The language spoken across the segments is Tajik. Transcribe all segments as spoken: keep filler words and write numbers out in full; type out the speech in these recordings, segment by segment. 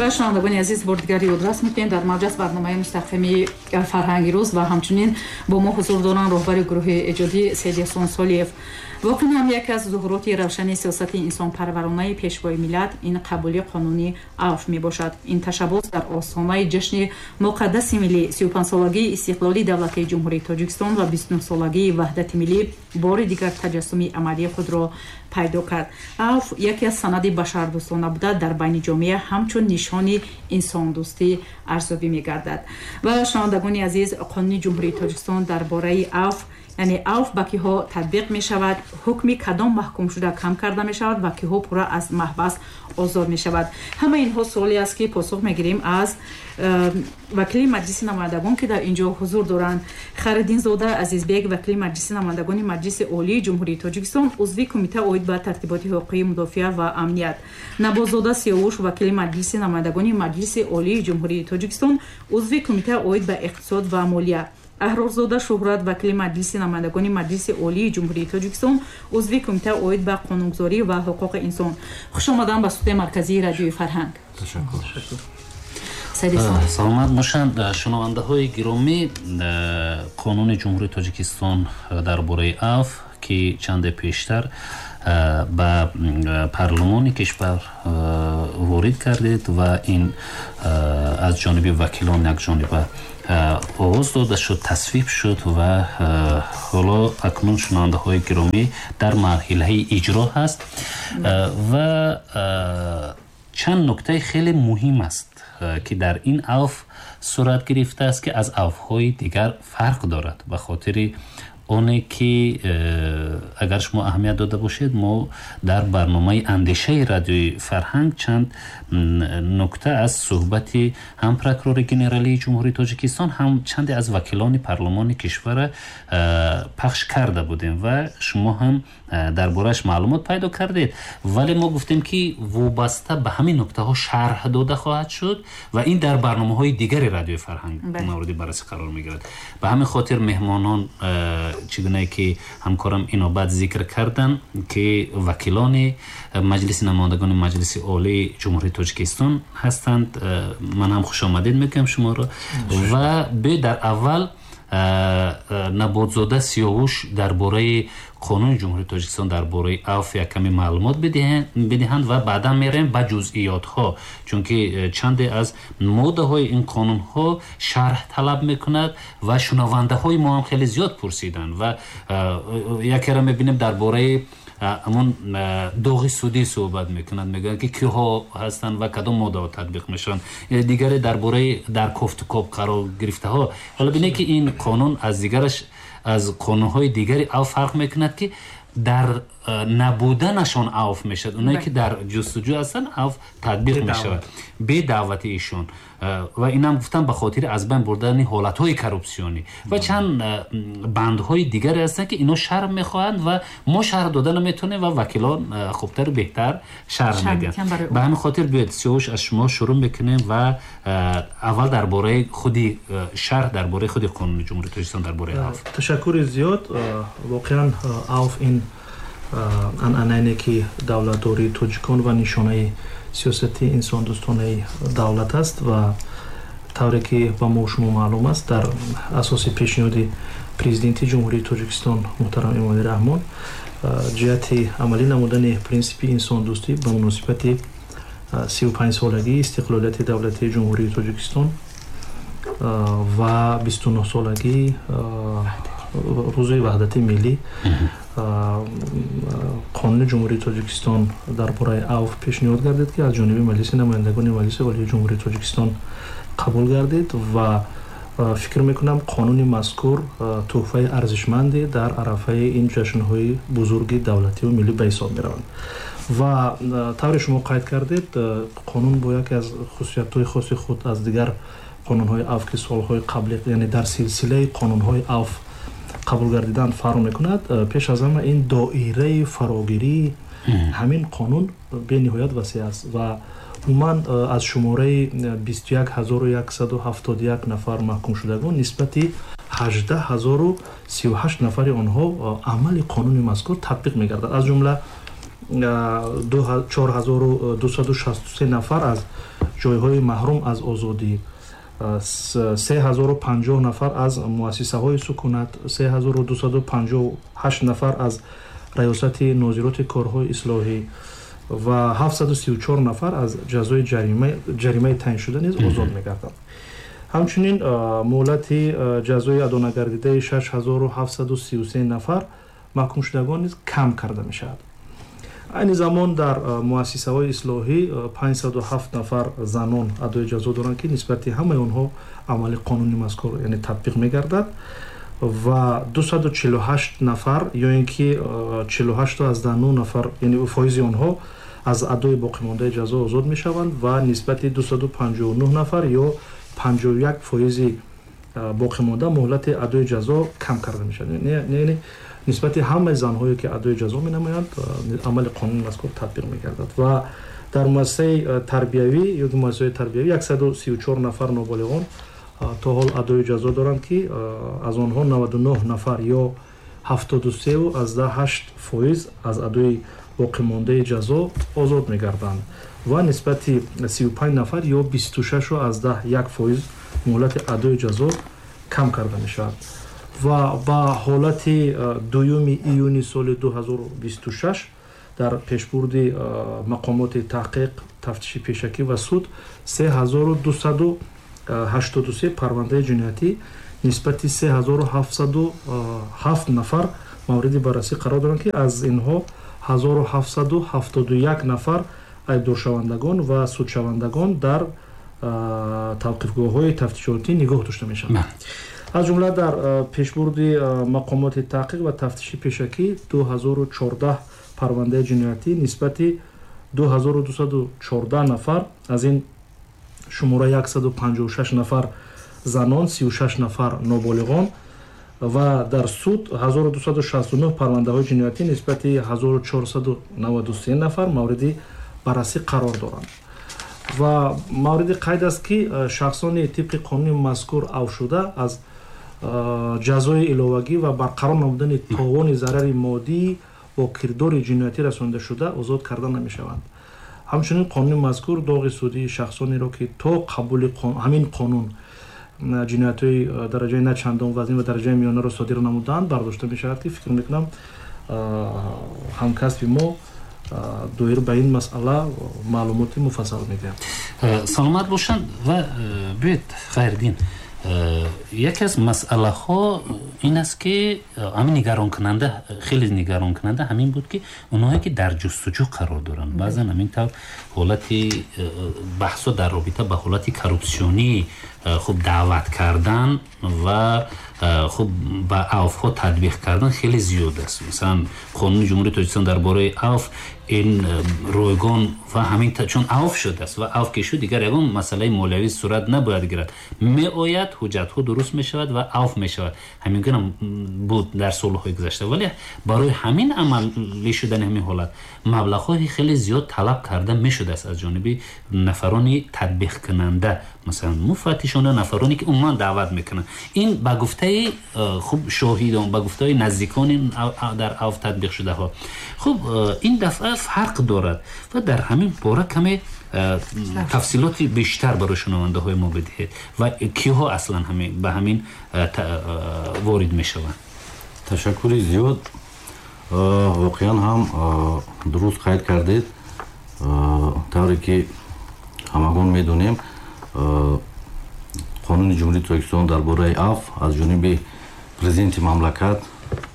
Ва шунавандагони азиз, бори дигар ёдрас мекунем, дар мавҷ аст барномаи мустақими «Фарҳанги рӯз» ва ҳамчунин бо мо ҳузур доранд роҳбари гурӯҳи эҷодӣ Сайидясон Солиев. Воқеан ҳам яке аз зуҳуроти равшани сиёсати инсонпарваронаи Пешвои миллат ин қабули қонуни авф мебошад. Ин ташаббус дар остонаи ҷашни муқаддаси миллӣ, сию панҷсолагии истиқлоли давлатии Ҷумҳурии Тоҷикистон ва бисту нӯҳсолагии ваҳдати миллӣ бори дигар таҷассуми амалии худро пайдо кард. Авф яке аз санади башардӯстона буда, дар байни ҷомеа ҳамчун нишони инсондӯстӣ арзёбӣ мегардад. Ва шунавандагони азиз, Қонуни Ҷумҳурии Тоҷикистон дар бораи авф, яъне авф ба киҳо татбиқ мешавад, ҳукми кадом маҳкумшуда кам карда мешавад ва киҳо пурра аз маҳбас озод мешавад, ҳама инҳо суоле аст, ки посух мегирем аз э, вакили Маҷлиси намояндагон, ки дар ин ҷо ҳузур доранд. Хайриддинзода Азизбек, вакили Маҷлиси намояндагони Маҷлиси Олии Ҷумҳурии Тоҷикистон, узви Кумита оид ба тартиботи ҳуқуқии мудофиа ва амният. Набозода Сиёвуш, вакили Маҷлиси намояндагони Маҷлиси Олии Ҷумҳурии Тоҷикистон, узви Кумита оид ба иқтисод ва молия. Аҳрорзода Шуҳрат, вакили Маҷлиси намояндагони Маҷлиси Олии Ҷумҳурии Тоҷикистон, узви Кумита оид ба қонунгузорӣ ва ҳуқуқи инсон. Хушомадан ба студияи марказии Радиои Фарҳанг. Саломат бошанд. Шунавандаҳои гиромӣ, Қонуни Ҷумҳурии Тоҷикистон дар бораи авф, ки чанде пештар ба парлумони кишвар ворид кардед ва ин аз ҷониби вакилон якҷониба овоз дода шуд, тасвиб шуд ва ҳоло акнун, шунавандаҳои гиромӣ, дар марҳилаи иҷро ҳаст ва чанд нуктаи хеле муҳим аст, ки дар ин авф сурат гирифтааст, ки аз авфҳои дигар фарқ дорад. Ба хотири оне ки э, агар шумо аҳамият дода бошед, мо дар барномаи андешаи Радиои Фарҳанг чанд нукта аз суҳбати ҳам прокурори генералии Ҷумҳурии Тоҷикистон, ҳам чанде аз вакилони парлумони кишвара э, пахш карда будем ва шумо ҳам э, дар борааш маълумот пайдо кардед. Вале мо гуфтем, ки вобаста ба ҳамин нуктаҳо шарҳ дода хоҳад шуд ва ин дар барномаҳои дигари Радиои Фарҳанг мавриди баррасӣ қарор мегирад. Ба ҳамин хотир меҳмонон, чӣ гунае ки ҳамкорам инобат зикр карданд, ки вакилони Маҷлиси намояндагони Маҷлиси Олии Ҷумҳурии Тоҷикистон ҳастанд, ман ҳам хушомадед мегӯям шуморо. Ва биёед, дар аввал Наботзода Сиёвуш дар бораи Қонуни Ҷумҳурии Тоҷикистон дар бораи авф як каме маълумот бидиҳанд ва баъдан мерем ба ҷузъиётҳо, чунки э, чанде аз моддаҳои ин қонунҳо шарҳ талаб мекунад ва шунавандаҳои мо ҳам хеле зиёд пурсиданд. Ва э, якеро мебинем, дар бораи ҳамон доғи судӣ суҳбат мекунанд, мегӯянд, ки киҳо ҳастанд ва кадом моддаҳо татбиқ мешаванд. Дигаре дар бораи дар кофтукоб қарор гирифтаҳо. Ҳоло бинед, ки ин қонун аз дигараш, аз қонунҳои дигари авф фарқ мекунад, ки дар набуданашон авф мешавад, оное ки дар ҷустуҷӯ ҳастанд, авф татбиқ мешавад бе даъвати ишон. Ва инам гуфтам, ба хотири аз байн бурдани ҳолатҳои коррупсионӣ ва чанд бандҳои дигаре ҳастанд, ки ино шарҳ мехоҳанд ва мо шарҳ дода наметавонем ва вакилон хубтару беҳтар шарҳ медиҳанд. Ба ҳамин хотир биёед, Сиёвуш, аз шумо шурӯъ мекунем ва аввал дар бораи худи шарҳ, дар бораи худи Қонуни Ҷумҳурии Тоҷикистон дар бораи авф. Ташаккури зиёд. Воқеан, авф ин анъанае ки давлатдории тоҷикон ва нишонаи сиёсати инсондӯстонаи давлат аст. Ва тавре ки ба мо шумо маълум аст, дар асоси пешниҳоди Президенти Ҷумҳурии Тоҷикистон муҳтарам Эмомалӣ Раҳмон ҷиҳати амалӣ намудани принсипи инсондӯстӣ ба муносибати сию панҷсолагии истиқлолияти давлатии Ҷумҳурии Тоҷикистон ва бисту нӯҳсолагии Рӯзи ваҳдати миллӣ Қонуни Ҷумҳурии Тоҷикистон дар бораи авф пешниҳод гардид, ки аз ҷониби Маҷлиси намояндагони Маҷлиси Олии Ҷумҳурии Тоҷикистон қабул гардид. Ва фикр мекунам, қонуни мазкур тӯҳфаи арзишманде дар арафаи ин ҷашнҳои бузурги давлативу миллӣ ба ҳисоб мераванд. Ва тавре шумо қайд кардед, қонун бо яке аз хусусиятҳои хоси худ аз дигар қонунҳои авф, ки солҳои қабли, яъне дар силсилаи қонунҳои авф қабул гардидан, фарқ мекунад. Пеш аз ҳама, ин доираи фарогирии ҳамин қонун бениҳоят васеъ аст ва умуман аз шумораи бисту як ҳазору яксаду ҳафтоду як нафар маҳкумшудагон нисбати ҳаждаҳ ҳазору сию ҳашт нафари онҳо амали қонуни мазкур татбиқ мегардад. Аз ҷумла чор ҳазору дусаду шасту се нафар аз ҷойҳои маҳрум аз озодӣ, се ҳазору панҷоҳ нафар аз муассисаҳои сукунат, се ҳазору дусаду панҷоҳу ҳашт нафар аз раёсати нозироти корҳои ислоҳӣ ва ҳафтсаду сию чор нафар аз ҷазои ҷаримаи таъиншуда низ озод мегарданд. Ҳамчунин муҳлати ҷазои адонагардидаи шаш ҳазору ҳафтсаду сию се нафар маҳкумшудагон низ кам карда мешавад. Айни замон дар муассисаҳои ислоҳӣ панҷсаду ҳафт нафар занон адои ҷазо доранд, ки нисбати ҳамаи онҳо амали қонуни мазкур яъне татбиқ мегардад ва дусаду чилу ҳашт нафар ё ин ки чилу ҳашту аз даҳ нӯ нафар яъне фоизи онҳо аз адои боқимондаи ҷазо озод мешаванд ва нисбати дусаду панҷоҳу нӯҳ нафар ё панҷоҳу як фоизи боқимонда муҳлати адои ҷазо кам карда мешавад. Яъне нисбати ҳамаи занҳое ки адои ҷазо менамоянд амали қонуни мазкур татбиқ мегардад ва дар муассисаи тарбиявӣ ё муассисаҳои тарбиявӣ яксаду сию чор нафар ноболиғон то ҳол адои ҷазо доранд, ки аз онҳо наваду нӯҳ нафар ё ҳафтоду сеу аз даҳ ҳашт фоиз аз адои боқимондаи ҷазо озод мегарданд ва нисбати сию панҷ нафар ё бисту шашу аз даҳ як фоиз муҳлати адои ҷазо кам карда мешавад. Ва ба ҳолати дуюми июни соли ду ҳазору бисту шаш дар пешбурди мақомоти таҳқиқ, тафтиши пешакӣ ва суд се ҳазору дусаду ҳаштоду се парвандаи ҷиноятӣ нисбати се ҳазору ҳафтсаду ҳафт нафар мавриди баррасӣ қарор доранд, ки аз инҳо ҳазору ҳафтсаду ҳафтоду як нафар айбдоршавандагон ва судшавандагон дар тавқифгоҳҳои тафтишотӣ нигоҳ дошта мешаванд. Аз ҷумла дар пешбурди мақомоти таҳқиқ ва тафтиши пешакӣ ду ҳазору чордаҳ парвандаи ҷиноятӣ нисбати ду ҳазору дусаду чордаҳ нафар, аз ин шумора яксаду панҷоҳу шаш нафар занон, сию шаш нафар ноболиғон ва дар суд ҳазору дусаду шасту нӯҳ парвандаҳои ҷиноятӣ нисбати ҳазору чорсаду наваду се нафар мавриди баррасӣ қарор доранд. Ва мавриди қайд аст, ки шахсони тибқи қонуни мазкур авшуда аз ҷазои иловагӣ ва барқарор намудани товони зарари моддӣ бо кирдори ҷиноятӣ расонида шуда озод карда намешаванд. Ҳамчунин қонуни мазкур доғи судии шахсонеро, ки то қабули ҳамин қонун ҷиноятҳои дараҷаи на чандон вазнин ва дараҷаи миёнаро содир намуданд, бардошта мешавад, ки фикр мекунам ҳамкасби мо доир ба ин масъала маълумоти муфассал медиҳад. Саломат бошанд. Ва биёед, Хайриддин, яке аз масъалаҳо ин аст, ки ҳамин нигаронкунанда, хеле нигаронкунанда ҳамин буд, ки онҳое ки дар ҷустуҷӯ қарор доранд, баъзан ҳамин тавр ҳолати баҳсо дар робита ба ҳолати коррупсионӣ хуб даъват кардан ва хуб ба авфҳо татбиқ кардан хеле зиёд аст. Масалан, қонуни Ҷумҳурии Тоҷикистон дар бораи авф ин ройгон ва ҳамин чун авф шудааст ва авф ки шуд, дигар ягон масъалаи молиявӣ сурат набояд гирад, меояд, ҳуҷҷатҳо дуруст мешавад ва авф мешавад. Ҳамин гуна буд дар солҳои гузашта, вале барои ҳамин амалӣ шудани ҳамин ҳолат маблағҳои хеле зиёд талаб карда мешудааст аз ҷониби нафарони татбиқкунанда, масалан муфаттишона, нафароне ки умуман даъват мекунанд. Ин ба гуфтаи хуб шоҳидон, ба гуфтаи наздикони дар авф татбиқ шудаҳо. Хуб, ин дафъа фарқ дорад ва дар ҳамин бора каме тафсилоти бештар барои шунавандаҳои мо бидиҳед ва киҳо аслан ба ҳамин ворид мешаванд. Ташаккури зиёд. Воқеан ҳам дуруст қайд кардед. Тавре ки ҳамагон медонем, қонуни Ҷумҳурии Тоҷикистон дар бораи авф аз ҷониби президенти мамлакат,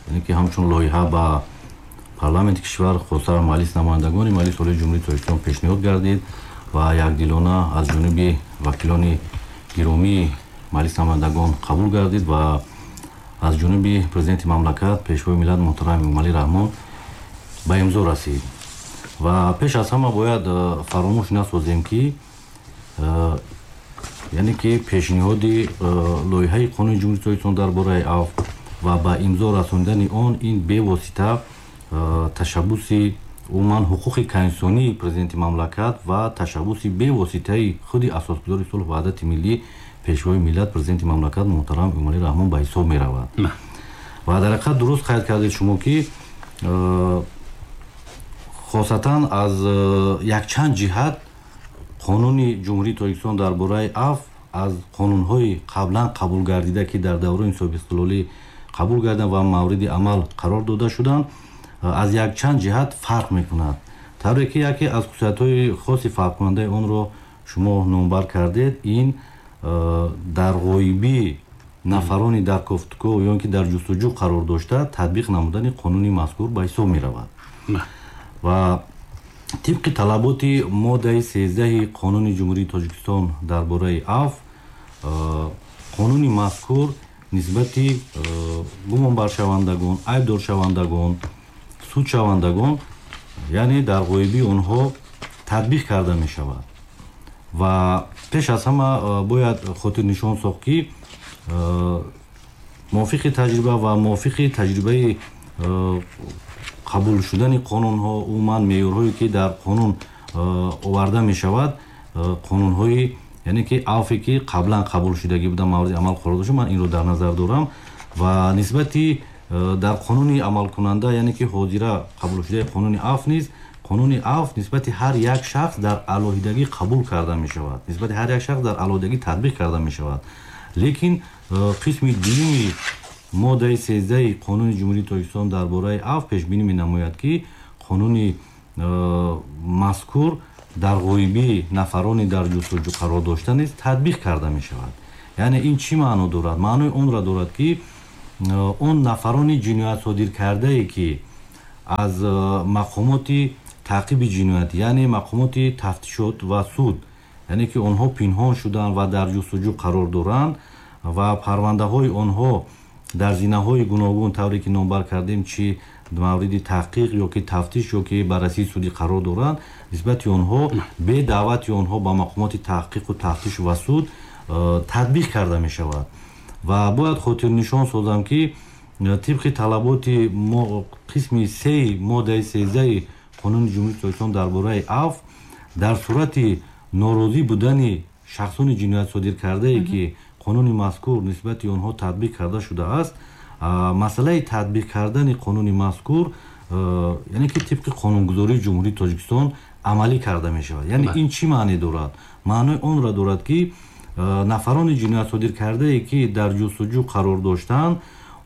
яъне ки ҳамчун лоиҳа ба парламенти кишвар, хоса Маҷлиси намояндагони Маҷлиси Олии Ҷумҳурии Тоҷикистон пешниҳод гардид ва якдилона аз ҷониби вакилони гиромии Маҷлиси намояндагон қабул гардид ва аз ҷониби президенти мамлакат, пешвои миллат муҳтарам Эмомалӣ Раҳмон ба имзо расид. Ва пеш аз ҳама бояд фаромӯш насозем, ки яъне ки пешниҳоди лоиҳаи қонуни Ҷумҳурии Тоҷикистон дар бораи авф ва ба имзо расонидани он ин бевосита ташаббуси умуман ҳуқуқи конститутсионии президенти мамлакат ва ташаббуси бевоситаи худи асосгузори сулҳу ваҳдати миллӣ, пешвои миллат, президенти мамлакат муҳтарам Эмомалӣ Раҳмон ба ҳисоб меравад. Ва дар ҳақиқат дуруст қайд кардед шумо, ки хосатан аз якчанд ҷиҳат Қонуни Ҷумҳурии Тоҷикистон дар бораи афв аз қонунҳои қаблан қабул гардида, ки дар давраи соҳибистиқлолӣ қабул гардиданд ва мавриди амал қарор дода шуданд, аз якчанд ҷиҳат фарқ мекунад. Тавре ки яке аз хусусиятҳои хоси фарқкунандаи онро шумо номбар кардед, ин дар ғоибии нафарони дар кофтуков ё ин ки дар ҷустуҷӯ қарор дошта татбиқ намудани қонуни мазкур ба ҳисоб меравад. Ва тибқи талаботи моддаи сездаҳи Қонуни Ҷумҳурии Тоҷикистон дар бораи афв, қонуни мазкур нисбати гумонбаршавандагон, айбдоршавандагон, судшавандагон, яъне дар ғоибии онҳо татбиқ карда мешавад. Ва пеш аз ҳама бояд хотирнишон сохт, ки мувофиқи таҷриба ва мувофиқи таҷрибаи қабул шудани қонунҳо, умуман меъёрҳое ки дар қонун оварда мешавад, қонунҳои яъне ки афве ки қаблан қабул шудагӣ буда мавриди амал қарор дошта, ман инро дар назар дорам. Ва нисбати дар қонуни амалкунанда, яъне ки ҳозира қабул шудаи қонуни афв низ, қонуни афв нисбати ҳар як шахс дар алоҳидагӣ қабул карда мешавад, нисбати ҳар як шахс дар алоҳидагӣ татбиқ карда мешавад. Лекин қисми дуюми моддаи сездаҳи Қонуни Ҷумҳурии Тоҷикистон дар бораи афв пешбинӣ менамояд, ки қонуни мазкур дар ғоибии нафарони дар ҷустуҷӯ қарор дошта низ татбиқ карда мешавад. Яъне ин чӣ маъно дорад? Маънои онро дорад, ки он нафарони ҷиноят содир кардае, ки аз мақомоти таъқиби ҷиноятӣ, яъне мақомоти тафтишот ва суд, яъне ки онҳо пинҳон шуданд ва дар ҷустуҷӯ қарор доранд ва парвандаҳои онҳо дар зинаҳои гуногун, тавре ки номбар кардем, чӣ мавриди таҳқиқ ё ки тафтиш ё ки баррасии судӣ қарор доранд, нисбати онҳо бе даъвати онҳо ба мақомоти таҳқиқу тафтиш ва суд татбиқ карда мешавад. Ва бояд хотирнишон созам, ки тибқи талаботи қисми сеи моддаи сездаҳи Қонуни Ҷумҳурии Тоҷикистон дар бораи афв, дар сурати норозӣ будани шахсони ҷиноят содир кардае, ки қонуни мазкур нисбати онҳо татбиқ карда шудааст, масъалаи татбиқ кардани қонуни мазкур, яъне ки тибқи қонунгузории Ҷумҳурии Тоҷикистон амалӣ карда мешавад. Яъне ин чӣ маъне дорад? Маънои онро дорад, ки нафарони ҷиноят содир кардае, ки дар ҷустуҷӯ қарор доштанд,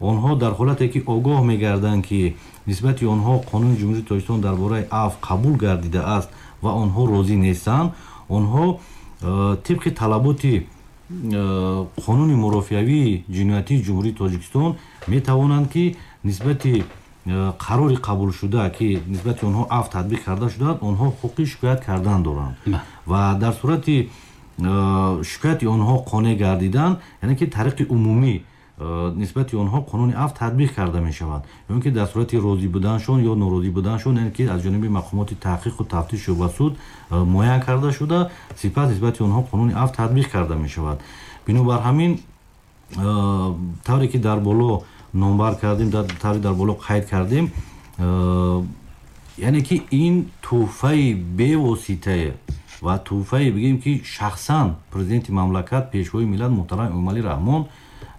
онҳо дар ҳолате ки огоҳ мегарданд, ки нисбати онҳо Қонуни Ҷумҳурии Тоҷикистон дар бораи афв қабул гардидааст ва онҳо розӣ нестанд, онҳо тибқи талаботи қонуни мурофиавии ҷиноятии Ҷумҳурии Тоҷикистон метавонанд, ки нисбати қарори қабулшуда, ки нисбати онҳо афв татбиқ карда шудааст, онҳо ҳуқуқи шикоят кардан доранд. Ва дар сурати шикояти онҳо қонеъ гардидан, яъне ки тариқи умумӣ нисбати онҳо қонуни афв татбиқ карда мешавад, ё ин ки дар сурати розӣ буданшон ё норозӣ буданшон, яъне ки аз ҷониби мақомоти таҳқиқу тафтишу ва суд муайян карда шуда, сипас нисбати онҳо қонуни афв татбиқ карда мешавад. Бинобар ҳамин, тавре ки дар боло номбар кардем, тавре дар боло қайд кардем, яъне ки ин тӯҳфаи бевоситае ва тӯҳфае бигем, ки шахсан президенти мамлакат, пешвои миллат муҳтарам Эмомалӣ Раҳмон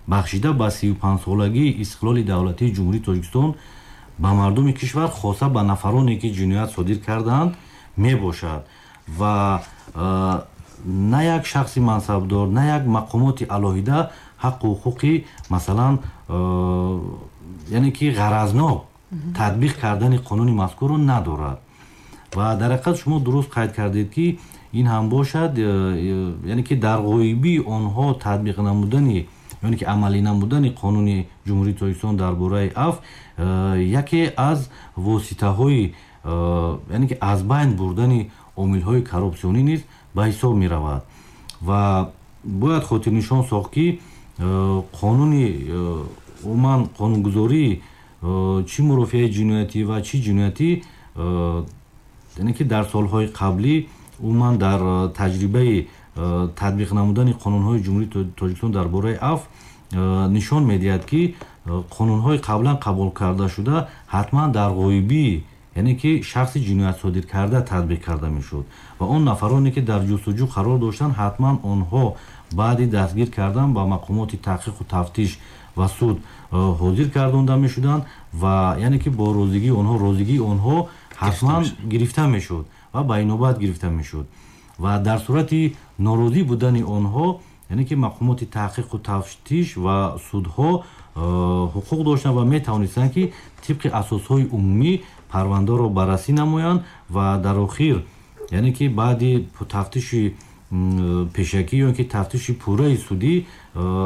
бахшида ба сию панҷсолагии истиқлоли давлатии Ҷумҳурии Тоҷикистон ба мардуми кишвар, хоса ба нафароне ки ҷиноят содир кардаанд, мебошад. Ва на як шахси мансабдор, на як мақомоти алоҳида ҳаққу ҳуқуқи, масалан, яъне ки ғаразнок татбиқ кардани қонуни мазкурро надорад. Ва дар ҳақиқат шумо дуруст қайд кардед, ки ин ҳам бошад, яъне ки дар ғоибии онҳо татбиқ намудани, яъне ки амалӣ намудани Қонуни Ҷумҳурии Тоҷикистон дар бораи афв яке аз воситаҳои, яъне ки аз байн бурдани омилҳои коррупсионӣ низ ба ҳисоб меравад. Ва бояд хотирнишон сохт, ки қонуни умуман қонунгузории чӣ мурофиаи ҷиноятӣ ва чӣ ҷиноятӣ, яъне ки дар солҳои қаблӣ умуман дар таҷрибаи татбиқ намудани қонунҳои Ҷумҳурии Тоҷикистон дар бораи афв нишон медиҳад, ки қонунҳои қаблан қабул карда шуда ҳатман дар ғоибии, яъне ки шахси ҷиноят содир карда татбиқ карда мешуд ва он нафароне ки дар ҷустуҷӯ қарор доштанд, ҳатман онҳо баъди дастгир кардан ба мақомоти таҳқиқу тафтиш ва суд ҳозир гардонда мешуданд ва яъне ки бо розигии онҳо, розигии онҳо ҳатман гирифта мешуд ва ба инобат гирифта мешуд. Ва дар сурати норозӣ будани онҳо, яъне ки мақомоти таҳқиқу тафтиш ва судҳо ҳуқуқ доштанд ва метавонистанд, ки тибқи асосҳои умумӣ парвандаро баррасӣ намоянд ва дар охир, яъне ки баъди тафтиши пешакӣ ё ки тафтиши пурраи судӣ,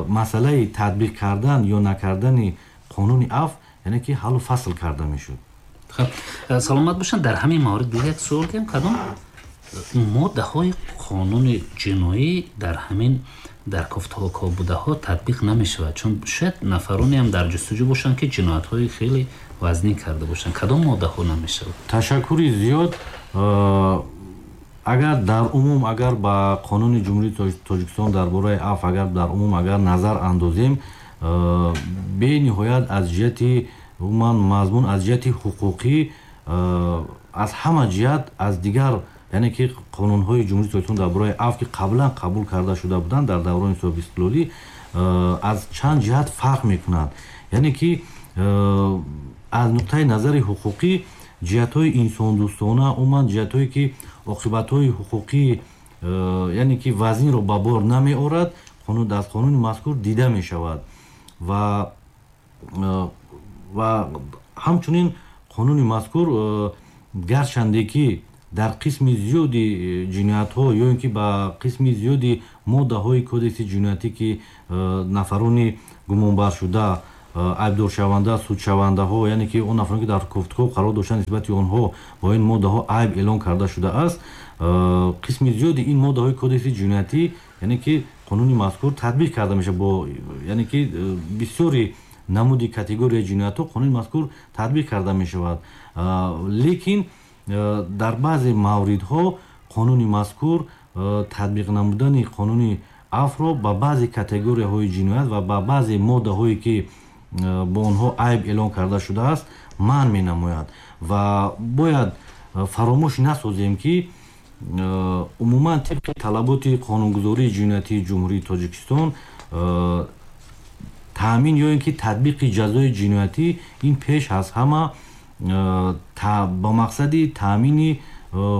масъалаи татбиқ кардан ё накардани қонуни афв, яъне ки ҳаллу фасл карда мешуд. Хуб, саломат бошанд. Дар ҳамин маврид биёед як суол диҳем: кадом моддаҳои қонуни ҷиноӣ дар ҳамин дар кофтукобудаҳо татбиқ намешавад? Чун шояд нафароне ҳам дар ҷустуҷӯ бошанд, ки ҷиноятҳои хеле вазнин карда бошанд. Кадом моддаҳо намешавад? Ташаккури зиёд. Агар дар умум, агар ба қонуни Ҷумҳурии Тоҷикистон дар бораи афв, агар дар умум агар назар андозем, бениҳоят аз ҷиҳати умуман мазмун, аз ҷиҳати ҳуқуқӣ, аз ҳама ҷиҳат аз дигар, яъне ки қонунҳои Ҷумҳурии Тоҷикистон дар бораи афв, ки қаблан қабул карда шуда буданд дар даврони соҳибистиқлолӣ, аз чанд ҷиҳат фарқ мекунад. Яъне ки аз нуқтаи назари ҳуқуқӣ, ҷиҳатҳои инсондӯстона, умуман ҷиҳатҳое ки оқибатҳои ҳуқуқӣ, яъне ки вазнинро ба бор намеорад, аз қонуни мазкур дида мешавад. Ва ва ҳамчунин қонуни мазкур, гарчанде ки дар қисми зиёди ҷиноятҳо ё ин ки ба қисми зиёди моддаҳои кодекси ҷиноятӣ, ки нафарони гумонбаршуда, айбдоршаванда, судшавандаҳо, яъне ки он нафароне ки дар кофтукоб қарор доштанд, нисбати онҳо бо ин моддаҳо айб эълон карда шудааст, қисми зиёди ин моддаҳои кодекси ҷиноятӣ, яъне ки қонуни мазкур татбиқ карда мешавад бо, яъне ки бисёри намуди категорияи ҷиноятҳо қонуни мазкур татбиқ карда мешавад. Лекин дар баъзе мавридҳо қонуни мазкур татбиқ намудани қонуни афвро ба баъзе категорияҳои ҷиноят ва ба баъзе моддаҳое ки бо онҳо айб эълон карда шудааст, манъ менамояд. Ва бояд фаромӯш насозем, ки умуман тибқи талаботи қонунгузории ҷиноятии Ҷумҳурии Тоҷикистон, таъмин ё ин ки татбиқи ҷазои ҷиноятӣ ин пеш аз ҳама ба мақсади таъмини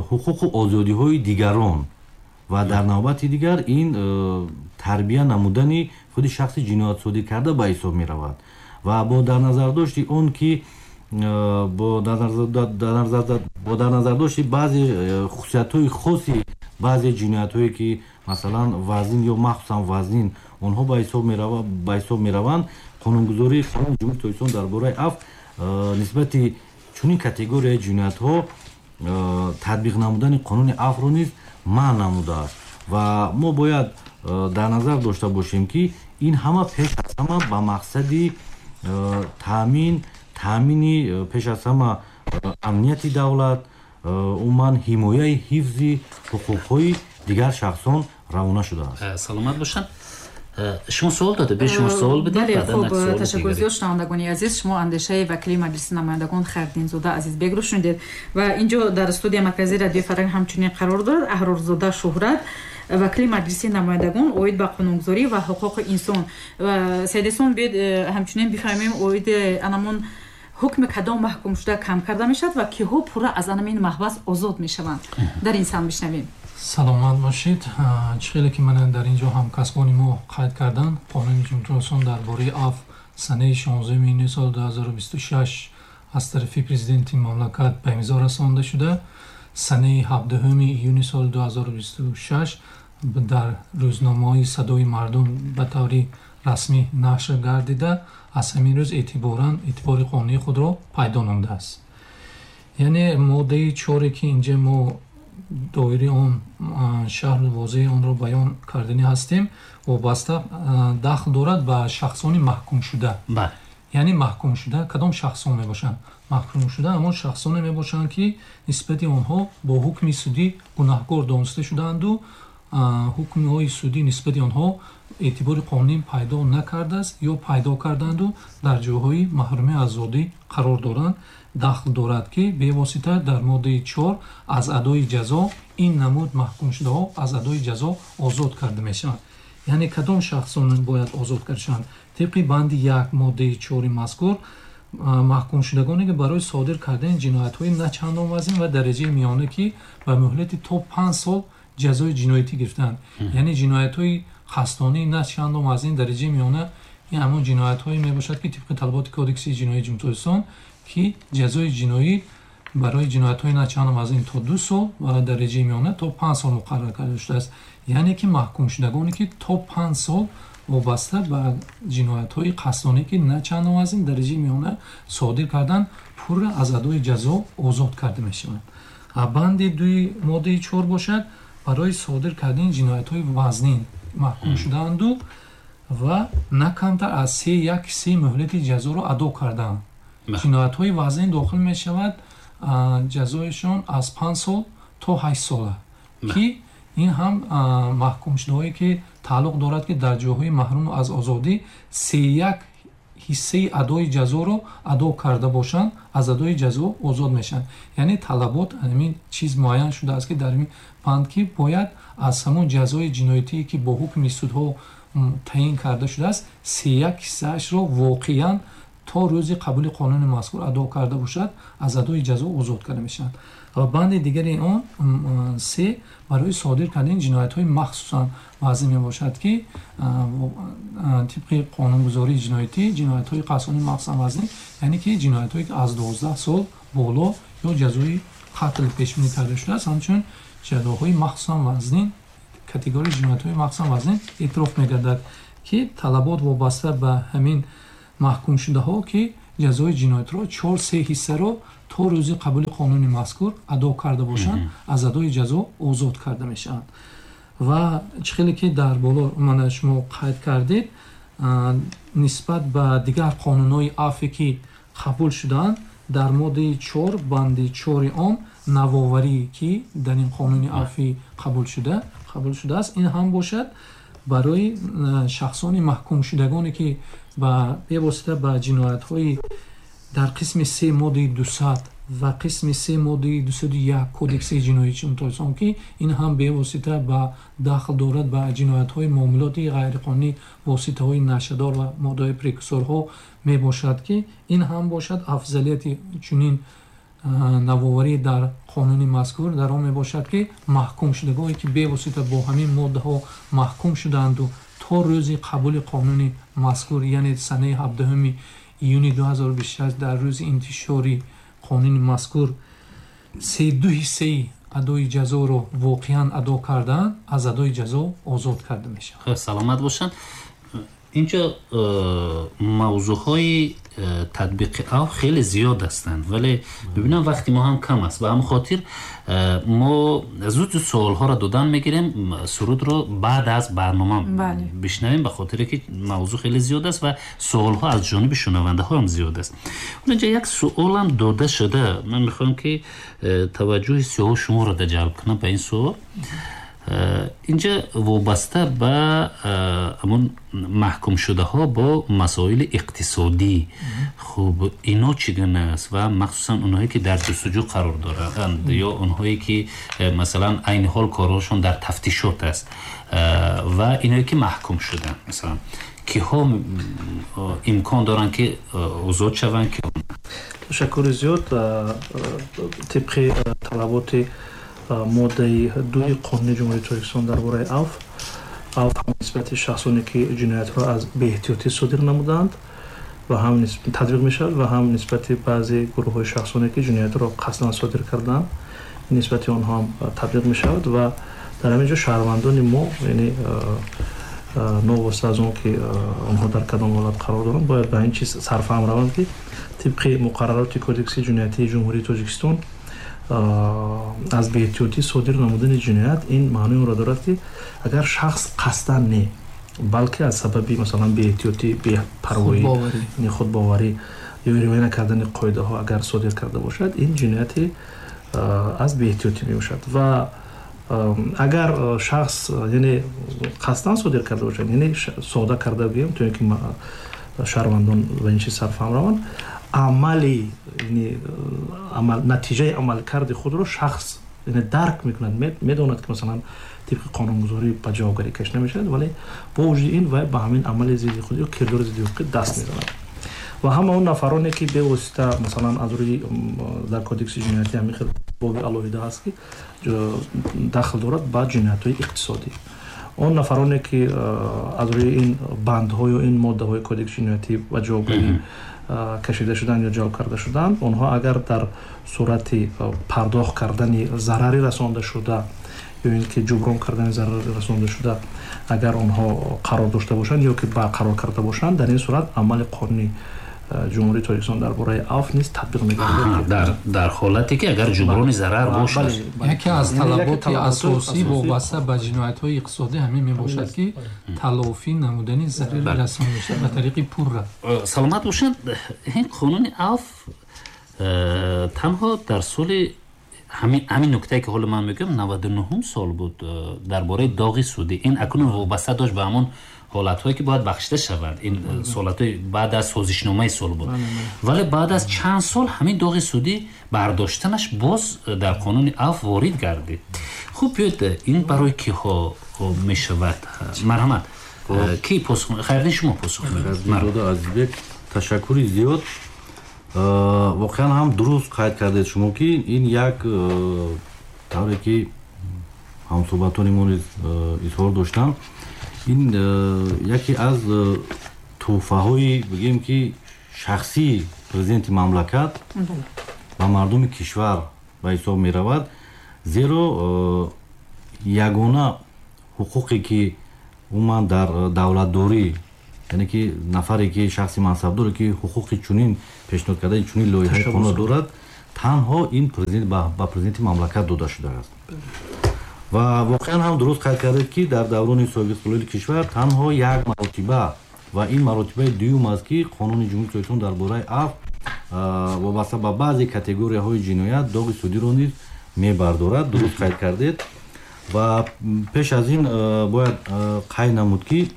ҳуқуқу озодиҳои дигарон ва дар навбати дигар ин тарбия намудани худи шахси ҷиноятсодир карда ба ҳисоб меравад. Ва бо дар назардошти он ки бо дар назардошти баъзе хусусиятҳои хоси баъзе ҷиноятҳое, ки масалан вазнин ё махсусан вазнин онҳо ба ҳисоб мераванд, қонунгузории қонуни Ҷумҳурии Тоҷикистон дар бораи афв нисбати чунин категорияи ҷиноятҳо татбиқ намудани қонуни афвро низ манъ намудааст. Ва мо бояд дар назар дошта бошем, ки ин ҳама пеш аз ҳама ба мақсади таъмин таъмини пеш аз ҳама амнияти давлат, умуман ҳимояи ҳифзи ҳуқуқҳои дигар шахсон равона шудааст. Саломат бошанд. Шумо суол дода, бе шумо суол бидед. Бале, хуб, ташаккур зиёд, шунавандагони азиз. Шумо андешаи вакили Маҷлиси намояндагон Хайриддинзода Азизбекро шунидед ва инҷо дар студияи марказии радиои Фарҳанг ҳамчунин қарор дорад Аҳрорзода Шуҳрат, вакили Маҷлиси намояндагон оид ба қонунгузорӣ ва ҳуқуқи инсон. Ва Сайдесон, биёед ҳамчунин бифаҳмем оид анамон ҳукми кадом маҳкумшуда кам карда мешавад ва киҳо пурра аз анамин маҳбас озод мешаванд. Дар ин сам бишнавем. Саломат бошед. Чӣ хеле ки ман дар ин ҷо ҳамкасбони мо қайд карданд, қонуни Ҷумҳурии Тоҷикистон дар бораи афв санаи шонздаҳуми июни соли ду ҳазору бисту шаш аз тарафи президенти мамлакат ба имзо расонда шуда, санаи ҳабдаҳуми июни соли ду ҳазору бисту шаш дар рӯзномаҳои Садои мардум ба таври расмӣ нашр гардида, аз ҳамин рӯз эътиборан эътибори қонунии худро пайдо намудааст. Яъне моддаи чоре ки инҷа мо доираи он шаҳру возеҳи онро баён кардани ҳастем, вобаста дахл дорад ба шахсони маҳкумшуда. Яъне маҳкумшуда кадом шахсон мебошанд? Маҳкумшуда ҳамон шахсоне мебошанд, ки нисбати онҳо бо ҳукми судӣ гунаҳкор дониста шудаанду ҳукмҳои судӣ нисбати онҳо эътибори қонунӣ пайдо накардааст ё пайдо карданду дар ҷойҳои маҳрумӣ аз озодӣ қарор доранд. Дахл дорад, ки бевосита дар моддаи чор аз адои ҷазо ин намуд маҳкумшудаҳо аз адои ҷазо озод карда мешаванд. Яъне кадом шахсон бояд озод карда шаванд? Тибқи банди як моддаи чори мазкур, маҳкумшудагоне ки барои содир кардани ҷиноятҳои на чандон вазнин ва дараҷаи миёна, ки ба муҳлати то панҷ сол ҷазои ҷиноятӣ гирифтаанд. Яъне ҷиноятҳои қасдонӣ на чандон вазнин дараҷаи миёна, ин ҳамон ҷиноятҳое мебошад, ки тибқи талаботи Кодекси ҷиноии Ҷумҳурии Тоҷикистон, ки ҷазои ҷиноӣ барои ҷиноятҳои на чандон вазнин то ду сол ва дараҷаи миёна то панҷ сол муқаррар карда шудааст. Яъне ки маҳкумшудагоне, ки то панҷ сол вобаста ба ҷиноятҳои қасдонӣ, ки на чандон вазнин дараҷаи миёна содир карданд, пурра аз адои ҷазо озод карда мешаванд. Банди дуи моддаи чор бошад, барои содир кардани ҷиноятҳои вазнин маҳкум шудаанду ва на камтар аз се як се муҳлати ҷазоро адо кардаанд. Ҷиноятҳои вазнин дохил мешавад ҷазоишон аз панҷ сол то ҳашт сола, ки ин ҳам маҳкумшудаҳое, ки тааллуқ дорад, ки дар ҷойҳои маҳрум аз озодӣ се як ҳиссаи адои ҷазоро адо карда бошанд, аз адои ҷазо озод мешаванд. Яъне талабот ҳамин чиз муайян шудааст, ки дар ин банд, ки бояд аз ҳамон ҷазои ҷиноятие, ки бо ҳукми судҳо таъин карда шудааст, се як ҳиссаашро воқеан то рӯзи қабули қонуни мазкур адо карда бошад, аз адои ҷазо озод карда мешаванд. Ва банди дигари он се барои содир кардани ҷиноятҳои махсусан вазнин мебошад, ки тибқи қонунгузории ҷиноятӣ ҷиноятҳои қасдонӣ махсусан вазнин, яъне ки ҷиноятҳое, ки аз дувоздаҳ сол боло ё ҷазои қатл пешбинӣ карда шудааст, ҳамчунин ҷазоҳои махсусан вазнин, категорияи ҷиноятҳои махсусан вазнин эътироф мегардад, ки талабот вобаста ба ҳамин маҳкумшудаҳо, ки ҷазои ҷиноятро чор се ҳиссаро то рӯзи қабули қонуни мазкур адо карда бошанд, аз адои ҷазо озод карда мешаванд. Ва чӣ хеле ки дар боло мана шумо қайд кардед, нисбат ба дигар қонунҳои афве, ки қабул шудаанд, дар моддаи чор банди чори он навоварӣ, ки дар ин қонуни афвӣ қабул шуда қабул шудааст, ин ҳам бошад барои шахсони маҳкумшудагоне, ки ба бевосита ба ҷиноятҳои дар қисми се моддаи дусад ва қисми се моддаи дусаду як Кодекси ҷиноии Ҷумҳурии Тоҷикистон, ки ин ҳам бевосита ба дахл дорад ба ҷиноятҳои муомилоти ғайриқонунӣ, воситаҳои нашъадор ва моддаҳои прекурсорҳо мебошад, ки ин ҳам бошад афзалияти чунин навоварӣ дар қонуни мазкур дар он мебошад, ки маҳкумшудагоне, ки бевосита бо ҳамин моддаҳо маҳкум шудаанду то рӯзи қабули қонуни мазкур, яъне санаи ҳабдаҳуми июни ду ҳазору бисту шаш дар рӯзи интишори қонуни мазкур се ду ҳиссаи адои ҷазоро воқеан адо кардаанд, аз адои ҷазо озод карда мешаванд. Саломат бошанд. Инҷо мавзӯъҳои татбиқи афв хеле зиёд ҳастанд, вале мебинам вақти мо ҳам кам аст. Ба ҳамин хотир мо зуд зуд суолҳоро додан мегирем, сурудро баъд аз барнома бишнавем, ба хотире ки мавзӯъ хеле зиёд аст ва суолҳо аз ҷониби шунавандаҳо ҳам зиёд аст. Инҷо як суолам дода шуда, ман мехоҳам ки таваҷҷӯҳи сиёҳу шуморо ҷалб кунам ба ин суол. Инҷа вобаста ба ҳамон маҳкумшудаҳо бо масоили иқтисодӣ, хуб ино чӣ гуна аст ва махсусан онҳое ки дар ҷустуҷӯ қарор доранд ё онҳое ки масалан айни ҳол корҳошон дар тафтишот аст ва иное ки маҳкум шуданд, масалан киҳо имкон доранд ки озод шаванд? Ки ташаккури зиёд. Тибқи талаботи моддаи дуи қонуни Ҷумҳурии Тоҷикистон дар бораи афв, афв ҳам нисбати шахсоне, ки ҷиноятро аз беэҳтиётӣ содир намуданд ва ҳам татбиқ мешавад ва ҳам нисбати баъзе гурӯҳҳои шахсоне, ки ҷиноятро қасдан содир карданд, нисбати онҳо ҳам татбиқ мешавад. Ва дар ҳамин ҷо шаҳрвандони мо, яъне новобаста аз он ки онҳо дар кадом ҳолат қарор доранд, бояд ба ин чиз сарфаҳм раванд, ки тибқи муқаррароти Кодекси ҷиноятии Ҷумҳурии Тоҷикистон аз беэҳтиётӣ содир намудани ҷиноят ин маънои онро дорад, ки агар шахс қасдан не, балки аз сабаби масалан беэҳтиётӣ, бепарвоӣ, худбоварӣ ё риоя накардани қоидаҳо агар содир карда бошад, ин ҷинояти аз беэҳтиётӣ мебошад. Ва агар шахс яъне қасдан содир карда бошад, яъне сода карда гӯем, то ин ки шаҳрвандон ба ин чиз сарфаҳм раванд, амали амал, натиҷаи амалкарди худро шахс яъне дарк мекунад, медонад, ки масалан тибқи қонунгузорӣ ба ҷавобгарӣ кашида мешавад, вале бо вуҷуди ин вай ба ҳамин амали зидди худ ё кирдори зидди ҳуқуқӣ даст мезанад. Ва ҳама он нафароне, ки бевосита масалан аз рӯи дар Кодекси ҷиноятӣ ҳамин хел Боби алоҳида ҳаст, ки дахл дорад ба ҷиноятҳои иқтисодӣ. Он нафароне, ки аз рӯи ин бандҳою ин моддаҳои кодекси ҷиноятӣ ба ҷавобгарӣ кашида шуданд ё ҷалб карда шуданд, онҳо агар дар сурати пардохт кардани зарари расонда шуда ё ин ки ҷуброн кардани зарари расонда шуда, агар онҳо қарор дошта бошанд ё ки барқарор карда бошанд, дар ин сурат амали қонунии Ҷумҳурии Тоҷикистон дар бораи афв низ татбиқ мегардад. Дар ҳолате ки агар ҷуброни зарар бошад. Яке аз талаботи асосӣ вобаста ба ҷиноятҳои иқтисодӣ ҳамин мебошад, ки талофӣ намудани зарари расондашуда ба тариқи пурра. Саломат бошанд. Ин қонуни афв танҳо дар соли ҳамин нуктае ки ҳоло ман мегӯям, наваду нуҳум сол буд, дар бораи доғи судӣ. Ин акнун вобаста дошт ба ҳамон ҳолатҳое ки бояд бахшида шаванд. Ин ҳолатҳои баъд аз созишномаи сол буд, вале баъд аз чанд сол ҳамин доғи судӣ бардоштанаш боз дар қонуни афв ворид гардид. Хуб, биёед, ин барои киҳо мешавад? Марҳамат, ки посух? Хайрдин, шумо посух. Азизбек, ташаккури зиёд. Воқеан ҳам дуруст қайд кардед шумо, ки ин як тавре ки ҳамсӯҳбатони мо низ изҳор доштанд, ин яке аз тӯҳфаҳои, бигем ки, шахсии президенти мамлакат ба мардуми кишвар ба ҳисоб меравад, зеро ягона ҳуқуқе ки умуман дар давлатдорӣ, яъне ки нафаре ки шахси мансабдоре ки ҳуқуқи чунин пешниҳод кардаи чунин лоиҳаи қонун дорад, танҳо ин президент ба президенти мамлакат дода шудааст. Ва воқеан ҳам дуруст қайд кардед, ки дар даврони соҳибистиқлолии кишвар танҳо як маротиба, ва ин маротибаи дуюм аст, ки қонуни Ҷумҳурии Тоҷикистон дар бораи афв вобаста ба баъзе категорияҳои ҷиноят доғи судиро низ мебардорад. Дуруст қайд кардед. Ва пеш аз ин бояд қайд намуд, ки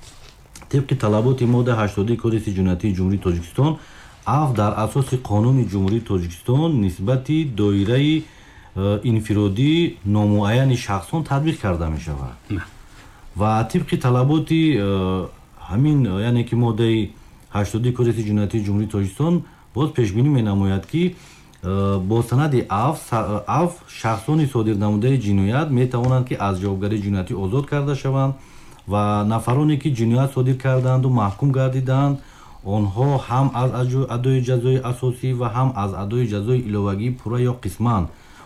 тибқи талаботи моддаи ҳаштоди Кодекси ҷиноятии Ҷумҳурии Тоҷикистон, афв дар асоси қонуни Ҷумҳурии Тоҷикистон нисбати доираи инфиродии номуайяни шахсон татбиқ карда мешавад. Ва тибқи талаботи ҳамин, яъне ки моддаи ҳаштоди Кодекси ҷиноятии Ҷумҳурии Тоҷикистон боз пешбинӣ менамояд, ки бо санади афв шахсони содир намудаи ҷиноят метавонанд, ки аз ҷавобгарии ҷиноятӣ озод карда шаванд, ва нафароне ки ҷиноят содир кардаанду маҳкум гардидаанд, онҳо ҳам аз адои ҷазои асосӣ ва ҳам аз адои ҷазои иловагӣ пурра ё қисман